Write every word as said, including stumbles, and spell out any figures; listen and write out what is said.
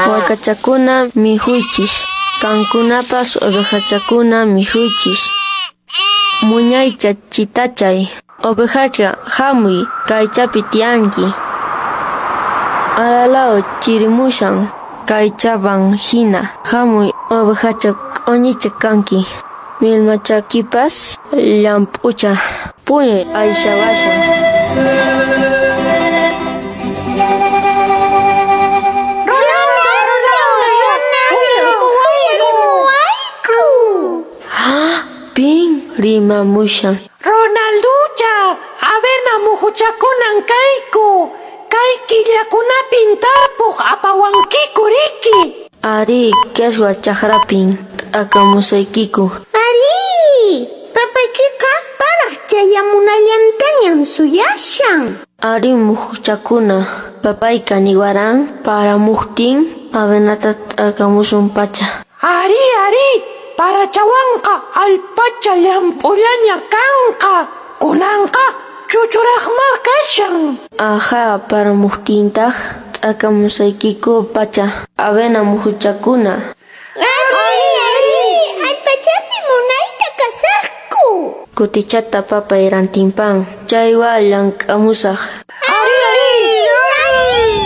Wakachakuna mikhuychis, qankunapas ovejachakuna mikhuychis. Muñaycha chitachay, ovejacha hamuy kaychapi tiyanki. Alalao chirimushan kaychaban hina, hamuy ovejacha q'uñicha kanki. Millmachakipas llamp'ucha, puñuy ayshawashan. Pin rimamushan. Ronalducha, avena muhuchakunan kayku. Kay killakunapin tarpuq apawankiku riki. Ari, qeswa chakrapin t'akamusaykiku. Ari, papaykiqa paraq chayamunallantañan suyashan. Ari muhuchakuna, papayqa niwaran paramuqtin avenata t'akamusun pacha. Ari, ari, parachawanqa allpacha llamp'ullaña kanqa. Kunanqa chuchuraqma kashan. Aja, paramuqtintaq t'akamusaykiku pacha, avena muhuchakuna. Ari, ari, allpachapi munayta kasaqku. Kutichata papay rantinpan, chaywan llank'amusaq.